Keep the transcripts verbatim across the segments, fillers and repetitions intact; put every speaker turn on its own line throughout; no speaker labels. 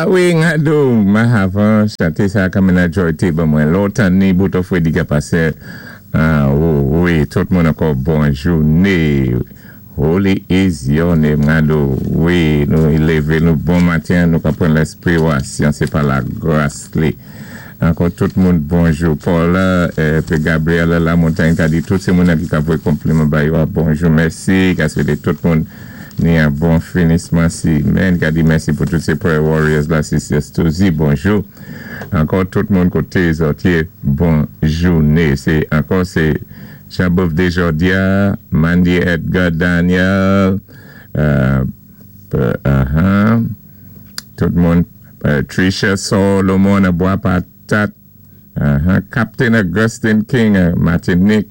Ah wi, Ngado, mahavan, chanté sa kanmenn Joy té ban mwen. Lontan ni bouton Freddy ka pasé. Ah wi, tout moun ankò bon jouné. Holy is your name, Ngado. Wi, nou lévé nou bon maten, nou ka pran léspri wasyon, sé pa lagras li. Ankò tout moun bonjou. Paul, épi Gabriel La Montagne ka di tout sé moun ki ka voyé konpliman ba yo, bonjou, mèsi. Ka swété tout moun ni yon bon finisman simenn. Ka di mèsi pou tout sé prayer warriors la, Sisi Stouzi, bonjou. Ankò tout moun koté zòt yé, bon jouné. Sé ankò sé Jean-Beuve Desjordia, Mandy Edgar Daniel, euh, uh-huh, tout moun, euh, Tricia Solomon, Bois Patat, uh-huh, Captain Augustine King, Martinique,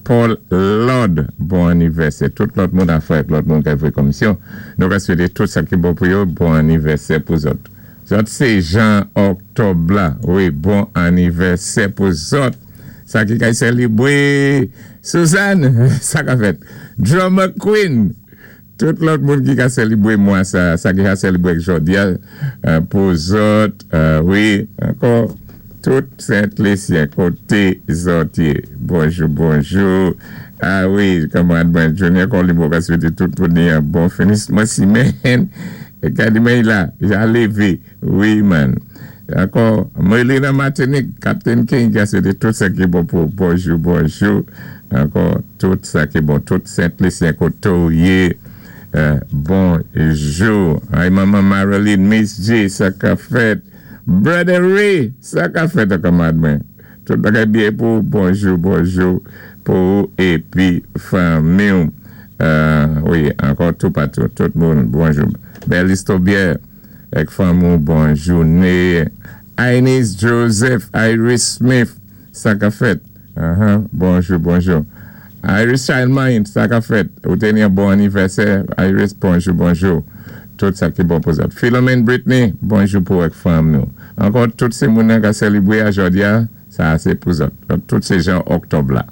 Paul Lord, bon anivèsè. Tout lòt moun a fè, lòt moun ki fè komisyon. Nou ka swété tout sa ki bon pou yo, bon anivèsè pou zòt. Zòt sé jan Oktòb la, wi, bon anivèsè pou zòt. Sa ki kay sélibwé, Suzanne, sa ka fèt. Drummer Queen, tout lòt moun ki ka sélibwé mwa sa, sa ki ka sélibwé jòdi a, pou zòt, wi, ankò, tout Sent-Lisyen koté zòt yé. Bonjou, bonjou. Ah wi, kanmarad mwen, Junior Colibro ka swété tout moun ni yon bon finisman simenn. É ka di mwen la, ja lévé. Wi man. Ankò, Melina Martinique, Captain King ka swété tout sa ki bon pou bonjou, bonjou. Ankò, tout sa ki bon, tout Sent-Lisyen koté ou yé. Bonjou. Ay maman Marilyn, Miss G, sa ka fèt. Brother Ray, sa ka fèt kanmarad mwen. Tout bagay byen pou bonjou, bonjou pou épi fanmi. Wi, ankò tout patou, tout moun, bonjou. Bel Istobier, ek fanmi ou, bon jouné. Ines Joseph, Iris Smith, sa ka fèt. Bonjou, bonjou. Iris Childmind, sa ka fèt. Ou té ni yon bon anivèsè. Iris, bonjou, bonjou. Tout sa ki bon pou zòt. Philomene Britney, bonjou pou ek fanmi ou. Ankò, tout sé moun ka sélibwé a jòdi a, sa sé pou zòt. Tout sé jan Oktòb la.